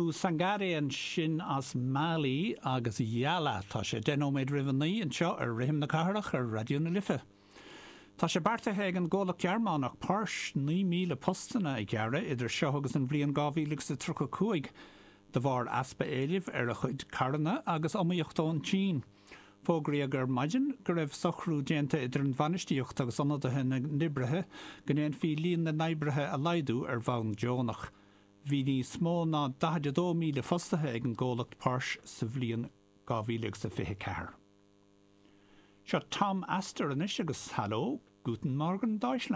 Sekou Sangare ansin as Mali agus Yala. Tá sé 10 nóiméad roimh a 9 anseo ar Rithim na Cathrach ar Raidió na Life. Tá sé beartaithe ag an gcomhlacht Gearmánach Porsche 9,000 postanna a ghearradh idir seo agus an bhliain 2035 de bharr easpa éilimh ar a chuid carranna agus iomaíocht ón tSín. Fógraíodh ar maidin go raibh socrú déanta idir an bhainistíocht agus ionadaithe na n-oibrithe go ndéanfaí líon na n-oibrithe a laghdú ar bhonn deonach. Bhí níos mó ná 42,000 fostaithe ag an gcomhlacht Porsche sa bhliain 2024. Seo Tom Astor anois agus Hallo, Guten Morgen Deutschland.